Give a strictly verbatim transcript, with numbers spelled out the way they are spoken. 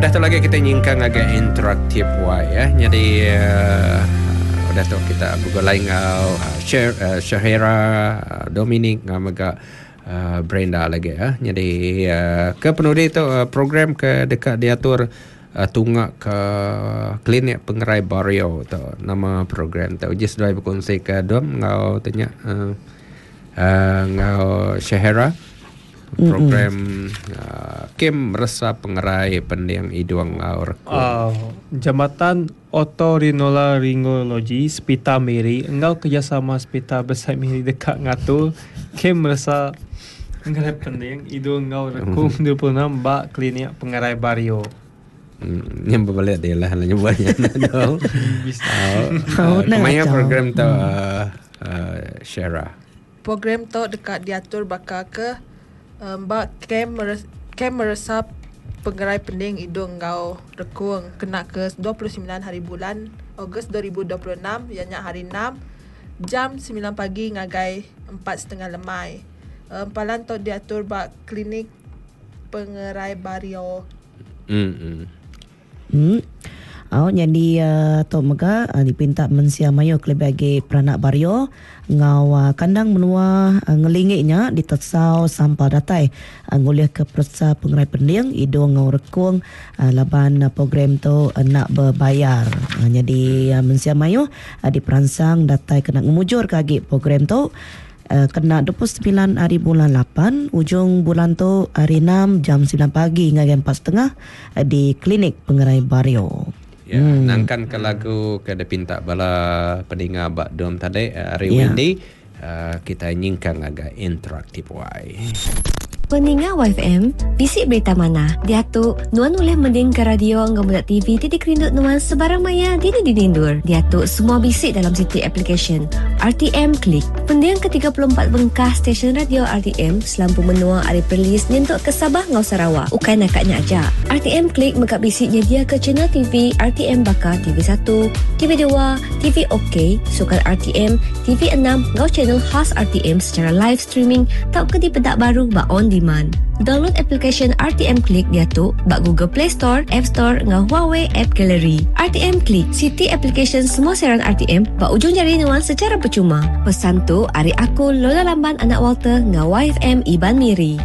Udah tu lagi kita nyingkang agak interaktif wai ya. Jadi uh, udah tu kita bergulai ngau uh, Sher, uh, Syahira, uh, Dominic ngau mega uh, Brenda lagi ya. Jadi uh, ke penudi tu uh, program ke dekat diatur uh, tungak ke klinik pengerai Bario tu nama program tu. Uji seduai berkongsi ke Dom ngau tanya uh, uh, ngau Syahira program uh, Kem Resa Pengerai Pending Idung ngau Rekung. Uh, Jabatan Otorinolaryngologi Sepita Miri engau kerjasama Sepita Besar Miri dekat ngatur Kem Resa Pengerai Pending Idung ngau Rekung dua puluh enam bak klinik Pengerai Bario. Hmm, yang berbalik dia lah lah nyebutnya. Oh, kemaya program tu uh, uh, Syara. Program tu dekat diatur bakal ke um, bak kem kem meresap Pengerai Pending Idung ngau Rekung kena ke dua puluh sembilan hari bulan Ogos dua ribu dua puluh enam ianya hari enam jam sembilan pagi ngagai empat setengah lemai. Um, palan tu diatur bak klinik Pengerai Bario. Hmm. Hmm. Oh, jadi uh, tu mega uh, dipinta mensia mayu kelebih agi peranak Bario ngau uh, kandang menua uh, ngelingiknya ditesau sampah datai uh, ngulih ke peresa Pengerai Pending Idung ngau Rekung uh, laban uh, program tu uh, nak berbayar. Uh, jadi uh, mensia mayu uh, diperansang datai kena ngemujur ke agi program tu. Uh, kena dua puluh sembilan hari bulan lapan ujung bulan tu hari enam jam sembilan pagi hingga empat setengah uh, di klinik Pengerai Bario. Ya, hmm. Nangkan ke lagu ke dipinta bala peninga bak dom tadi hari uh, Wendy uh, kita nyingkang agak interaktif wai. Peninga Y F M, bisik berita mana? Diatu, nuan boleh mending ke radio ngau budak T V titik rindut nuan sebarang maya dini dinindur. Diatu, semua bisik dalam siti application R T M Klik. Pending ke tiga puluh empat bengkah stesen radio R T M selampu menua ari Perlis nyentuk ke Sabah ngau Sarawak. Ukai nakaknya aja. R T M Klik megak bisiknya dia ke channel T V R T M Bakar T V satu, T V dua, T V OK, Sukan R T M, T V enam ngau channel khas R T M secara live streaming tau ke di pedak baru bak on demand. Download application R T M Klik dia tu bak Google Play Store, App Store ngau Huawei App Gallery. R T M Klik, city application semua siaran R T M bak ujung jari nuan secara percuma. Pesan tu ari aku Lola Lamban anak Walter ngau Y F M Iban Miri.